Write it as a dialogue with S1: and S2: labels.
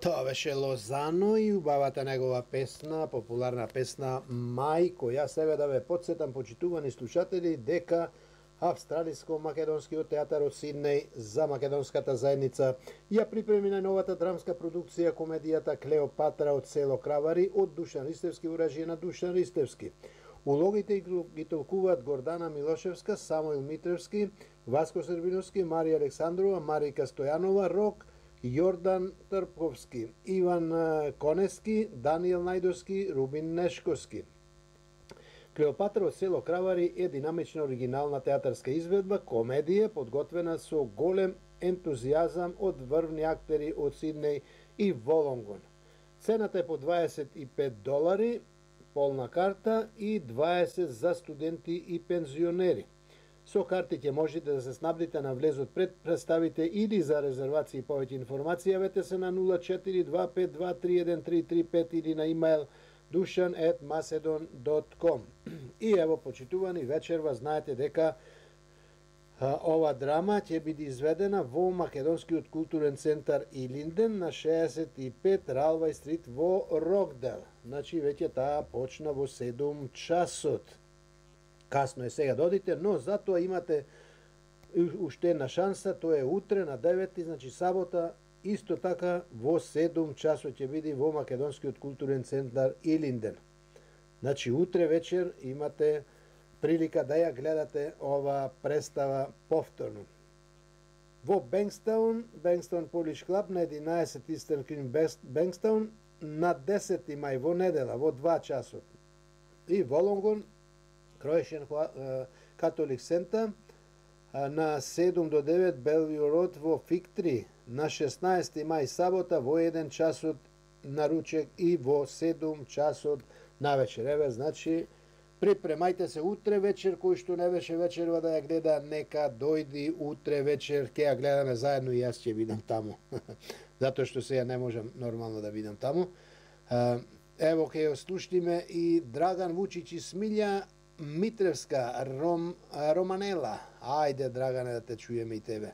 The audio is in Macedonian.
S1: Тоа беше Лозано и убавата негова песна, популарна песна Мај, која себе да ве подсетам, почитувани слушатели, дека Австралиско-македонскиот театар од Сиднеј за македонската заедница ја припреми најновата драмска продукција комедијата Клеопатра од село Кравари од Душан Ристевски во режија на Душан Ристевски. Улогите ги толкуваат Гордана Милошевска, Самуил Митревски, Васко Србиновски, Марија Александрова, Марика Стојанова, Рок, Јордан Трпковски, Иван Конески, Даниел Најдовски, Рубин Нешковски. Клеопатра од село Кравари е динамична оригинална театарска изведба, комедија подготвена со голем ентузијазам од врвни актери од Сиднеј и Волонгон. Цената е по $25, полна карта и 20 за студенти и пензионери. Со карти ќе можете да се снабдите на влезот пред представите или за резервации и повеќе информација јавете се на 0425231335 или на имејл dushan@macedon.com. И ево, почитувани, вечерва знаете дека ова драма ќе биде изведена во Македонскиот културен центар Илинден на 65 Ралвај стрит во Рокдел. Значи, веќе таа почна во 7 часот. Касно е сега да одите, но затоа имате уште една шанса, тоа е утре на 9, значи сабота, исто така во 7 часот ќе биде во Македонскиот културен центар Илинден. Значи утре вечер имате прилика да ја гледате ова представа повторно. Во Бенкстаун Polish Club на 11 Eastern Green Бенкстаун на 10 мај во недела во 2 часот. И Волонгон Croatian Catholic Center на 7 до 9 Bellevue Road во Fig 3 на 16 мај сабота во 1 часот на ручек и во 7 часот на вечер. Еве, значи, припремајте се утре вечер, кој што не беше вечерва да ја гледа, нека дојди утре вечер, ќе ја гледаме заедно и јас ќе бидам таму. Затоа што сега не можам нормално да бидам таму. Ево, ќе ја слушнеме и Драган Вучич и Смилја Митревска, Романела. Ајде, Драгане, да те чуеме и тебе.